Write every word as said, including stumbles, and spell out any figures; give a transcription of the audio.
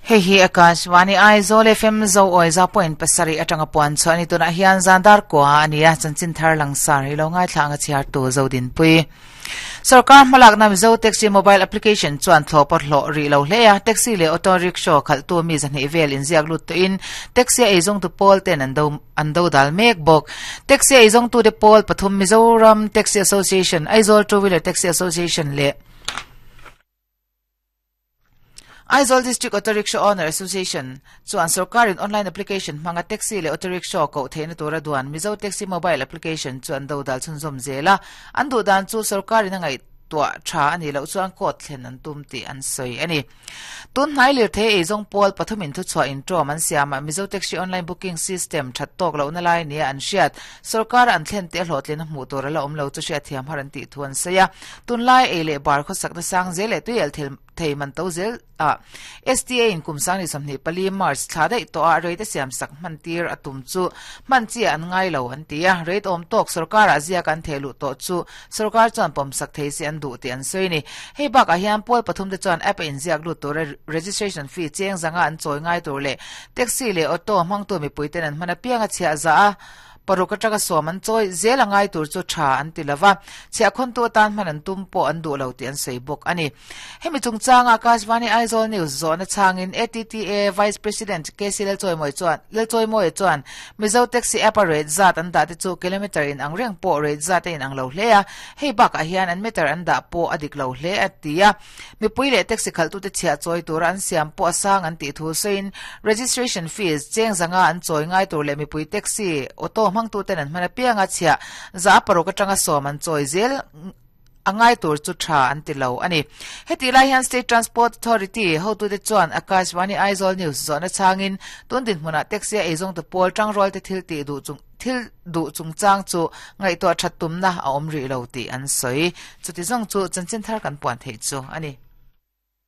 Hei hi Akashvani Aizawl F M zo oi za point pasarih atanga puan chu ani tunah hian zandar kwa ania chanchin thar langsar hi lo ngai thlanga chhiar tu zodin pui Sarkar hmalak na Mizo Taxi mobile application chuan thlopar hlo ri lo hlea taxi le auto rickshaw khal tu mi zani vel in ziak lut to in taxi ei zong tu pol ten an do an do dal mek bok taxi ei zong tu de pol pathum Mizoram Taxi Association Aizawl Two Wheeler Taxi Association le Aizawl District Auto Rickshaw Owner Association chuan sarkar in online application hmanga taxi le auto rickshaw ko theina tura duan Mizo Taxi mobile application chuan do dal chhunzawm zela an du dan chu sarkar in angai tua tha ani lo chuan kot thlen an tum ti an soi ani tun hnai lir the ei zong pol pathumin thu chua in trom an siama Mizo Taxi online booking system that tok lo na lai ni an hriat sarkar an thlen te hlotlin hmu tur la om lo chu hriat thiam har an ti thuan seia tun lai ei le bar kho sak na sang zel e tuiel thil thei man to zel a S T A in kumsang ni samni pali March thla dei to a rate siam sak man tir atum chu man chi an ngai lo an tia rate om tok sarkar a zia kan thelu to chu sarkar chuan pom sak thei si an du ti an soi ni hei bak a hian pol pathum te chuan app in ziak lu tur registration fee cheng zanga an choi ngai tur le taxi le auto mang tu mi puiten an mana pianga chhia za a paruk atanga som an choi zel angai tur chu tha an ti lova chhia khon tu tan man an tum po an du lo ti an sei bok ani hemi chungchang Akashvani Aizawl News zona changin A T T A Vice President K C Lel Choi Moi chuan Lel Choi Moi chuan Mizo Taxi app rate zat an da te chu kilometer in ang reng po rate zat in ang lo hlea hei bak a hian an meter an da po adik lo hle atia mi puile taxi khal tu te chhia choi tur an siam po asang an ti thu sein registration fees cheng zanga an choi ngai tur le mi pui taxi auto mang tu ten an mana pianga chhia za paruk atanga som an choi zel angai tur chu tha an ti lo ani heti lai hian State Transport Authority ho tu te chuan Akashvani Aizawl News zona changin tun din hmuna taxi ei zong tu pol tang rol te thil ti du chung thil du chung chang chu ngai to thattum na a om ri lo ti an soi chuti zong chu chanchin thar kan puan thei chu ani.